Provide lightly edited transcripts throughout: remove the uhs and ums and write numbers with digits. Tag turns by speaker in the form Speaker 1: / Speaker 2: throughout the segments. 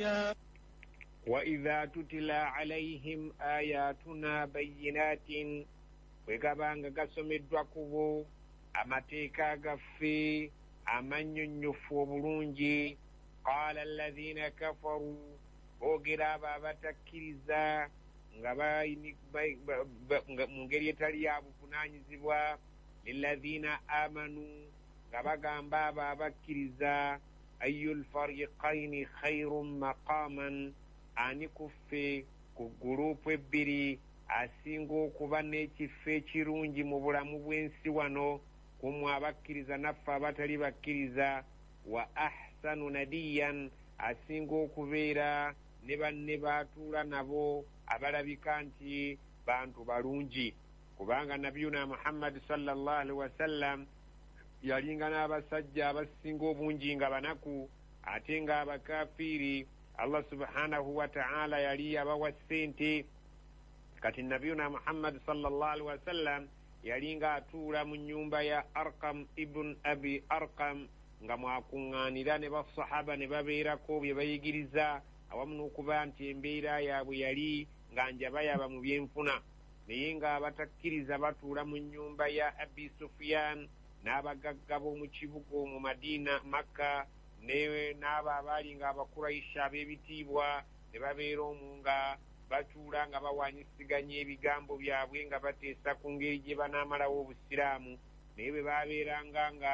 Speaker 1: ورئيا.
Speaker 2: وإذا تتلى عليهم آياتنا بينات, bwe gabanga gasomeddwa ku bo amateeka gaffe amannyonnyofu obulungi, qaala alladhina kafaru, boogera abo abatakkiriza nga mu ngeri etali ya buvunaanyizibwa, lilladhina amanu, nga bagamba abo abakkiriza, ayu lfariqaini khairun maqaman, ani kuffe ku gurupu ebbiri asinga okuba n'ekifo ekirungi mu bulamu bw'ensi wano, kumwe abakkiriza naffe abatali bakkiriza, wa ahsanu nadiyan, asinga okubeera ne banne baatuula nabo abalabika nti bantu balungi. Kubanga Nabiyuna Muhammadi sallallahu alaihi wasallam yalinga n'abasajja abasinga obungi nga banaku, ate nga abakafiiri Allah subhanahu wa ta'ala yali yabawa ssente. Kati Nabiyuna Muhammadi sallallahu alaihi wasallam yalinga atuula mu nnyumba ya Arqam ibn Abi Arqam, nga mwakuŋŋaanira ne basahaba ne babeerako bye bayigiriza, awamu n'okuba nti embeera yaabwe yali nga njabayaba mu byenfuna. Naye nga abatakkiriza batuula mu nnyumba ya Abi Sufyan n'abagagga b'omu kibuga mu Madiina, Makka, n'abo abaali nga Abakuraisha ab'ebitiibwa ne babeera omwo nga batuula nga bawanyisiganya ebigambo byabwe nga bateesa ku ngeri gye banaamalawo Obusiraamu. Naye bwe babeeranga nga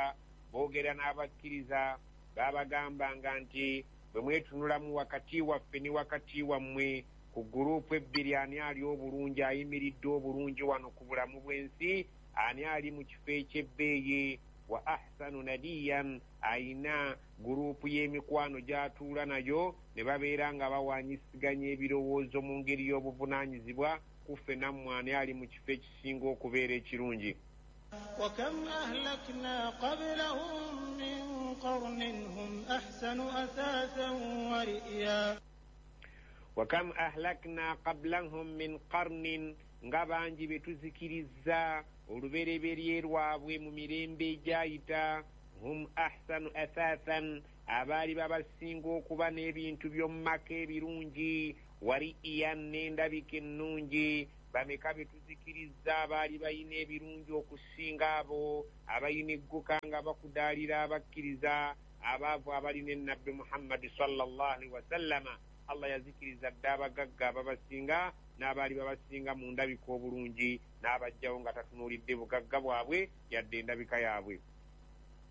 Speaker 2: boogera n'abakkiriza, baabagambanga nti bwe mwetunulamu wakati waffe ne wakati wammwe ku gurupu ebbiri, ani ali obulungi, ayimiridde obulungi wano ku bulamu bw'ensi, ani ali mu kifo eky'ebbeeyi, wa ahsanu nadiyan, ayina gurupu y'emikwano gy'atuula nayo, ne babeera nga bawanyisiganya ebirowoozo mu ngeri y'obuvunaanyizibwa, kuffe nammwe ani ali mu kifo ekisinga okubeera ekirungi.
Speaker 1: وكم أهلكنا قبلهم من قرن هم أحسن أثاثا ورئيا.
Speaker 2: وكم أهلكنا قبلهم من قرن, nga bangi be tuzikirizza olubereberye lwabwe mu mirembe egyayita, hum ahsanu athathan, abaali babasinga okuba n'ebintu by'omu maka ebirungi, wari'iyan, n'endabika ennungi. Bameka be tuzikirizza abaali balina ebirungi okusinga abo abalina egguka nga bakudaalira abakkiriza abaavu abalina ennabbi Muhammadi sallallahu alaihi wasallama. Allah yazikiriza dda abagagga ababasinga n'abaali babasinga mu ndabika obulungi, n'abajjawo nga tatunuulidde bugagga bwabwe yadde endabika yaabwe.